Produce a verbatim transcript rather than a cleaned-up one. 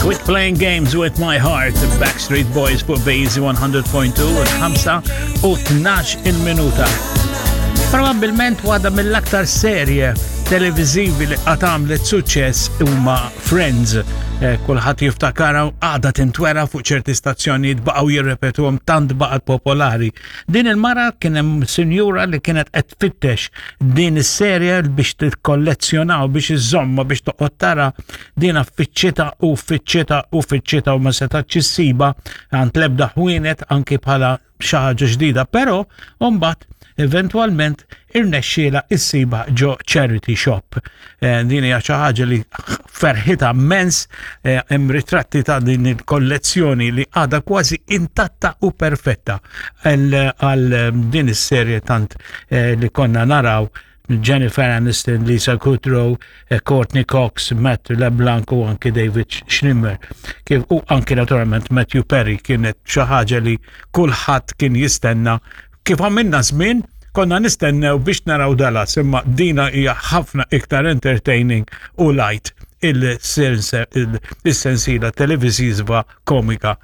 Quit Playing Games With My Heart, Backstreet Boys fuq Base one hundred point two, il-ħamsa u tnax il-minuta. Probabilment waħda mill-aktar serje televizivi li qatt għamlet suċċess huma Friends. Eh, Kulħadd jiftakara, għadha tintwera fuq ċerti stazzjonijiet, baqgħu jirrepetuhom tant baqgħet popolari. Din il-mara kien hemm sinjura li kienet qed tfittex din is-serje biex tikkollezzjonaw, biex iżomma, biex toqgħod tara din. Fittxitha u fittxitha u fittxitha u ma setgħetx issibha għand l-ebda ħwienet, anki bħala xi ħaġa ġdida, però mbagħad eventwalment irnexxiela issibha ġo charity shop. Eh, din hija xi ħaġa li ferħita immens, eh, hemm ritratti ta' din il-kollezzjoni li għadha kważi intatta u perfetta għal din is-serje tant eh, li konna naraw Jennifer Aniston, Lisa Kudrow, eh, Courteney Cox, Matt LeBlanc u anki David Schwimmer. Kif u anki naturalment Matthew Perry. Kienet xi ħaġa li kulħadd kien jistenna, kif għamilna żmien konna nistennew biex naraw Dallas, imma dina hija ħafna iktar entertaining u light, il-sensiela televiziva komika.